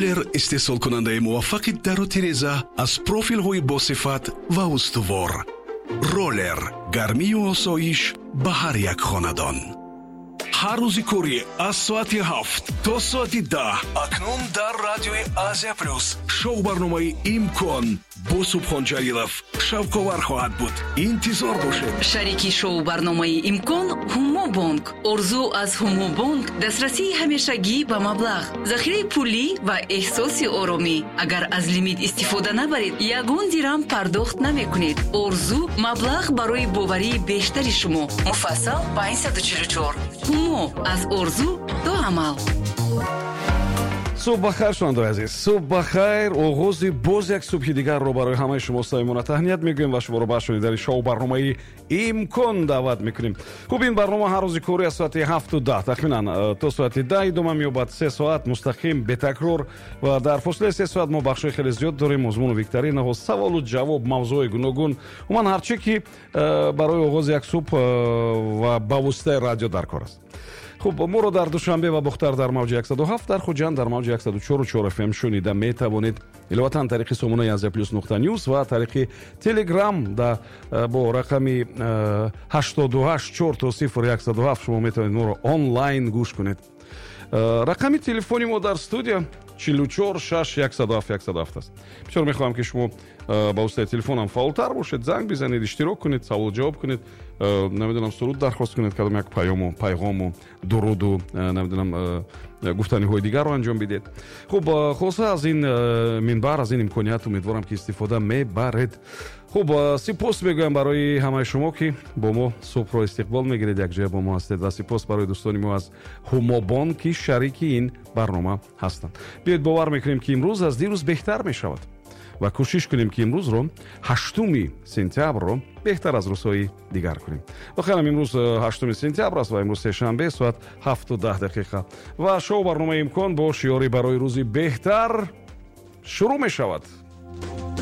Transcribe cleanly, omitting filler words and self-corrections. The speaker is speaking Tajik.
Роллер истеҳсолкунандаи муваффақи дару тиреза аз профилҳои босифат ва устувор. Роллер гармию осоиш ба ҳар як хонадон. Ҳар рӯзи корӣ аз соати 7 то соати 10 акнун дар радиои Азия Плюс шоу барномаи «Имкон» бо Субҳон Ҷалилов шавқовар хоҳад буд. Интизор бошед. Шарики шоу барномаи «Имкон» Ҳумобонк. Орзу аз Ҳумобонк дастрасии ҳамешагӣ ба маблағ, захираи пулӣ ва эҳсоси оромӣ. Агар аз лимит истифода набаред, ягон дирам пардохт намекунед. Орзу маблағ барои боварии бештари шумо. Муфассал 544. Ҳумо аз орзу то амал. Субҳ бахайр, шунавандаои азиз, субҳ бахайр. Оғози боз як субҳи дигарро барои ҳамаи шумо самимона таҳният мегӯем ва шуморо ба шунидани шоу барномаи «Имкон» даъват мекунем. Хуб, ин барнома ҳар рӯзи корӣ аз соати 7:10 тахминан то соати 10 идома меёбад. 3 соат мустақим, бетакрор, ва дар фосилаи 3 соат мо бахшҳои хеле зиёд дорем: озмуну викторинаҳо, саволу ҷавоб, мавзӯъҳои гуногун, умуман ҳар чӣ ки барои оғози як субҳ ва ба воситаи радио дар кор аст. Хуб, моро дар Душанбе ва Бохтар дар мавҷи 107, дар Хуҷанд дар мавҷи 104,4 фм шунида метавонед. Иловатан, тариқи сомонаи Азия Плюс.News ва тариқи Телеграм да бо рақами 88 000 107 шумо метавонед моро онлайн гӯш кунед. Рақами телефони мо дар студия 44 6 107 107 аст. Бисёр мехоҳам, ки шумо ба воситаи телефонам фаъолтар бошед, занг бизанед, иштирок кунед, саволу ҷавоб кунед, намедонам, суруд дархост кунед, кадом як паёму пайғому дуруду намедонам, гуфтаниҳои дигарро анҷом бидиҳед. Хуб, хулоса, аз ин минбар, аз ин имконият умедворам, ки истифода мебаред. Хуб, сипос мегӯям барои ҳамаи шумо, ки бо мо субҳро истиқбол мегиред, якҷоя бо мо ҳастед, ва сипос барои дӯстони мо аз Ҳумобонк, ки шарики ин барнома ҳастанд. Биёед, бовар мекунем, ки имрӯз аз дирӯз беҳтар мешавад, ва кӯшиш кунем, ки имрӯзро, 8 сентябрро, беҳтар аз рӯзҳои дигар кунем. Воқеан, имрӯз 8 сентябр аст ва имрӯз сешанбе, соат 7:10 ва шоу барномаи «Имкон» бо шиёри «Барои рӯзи беҳтар» шурӯъ мешавад.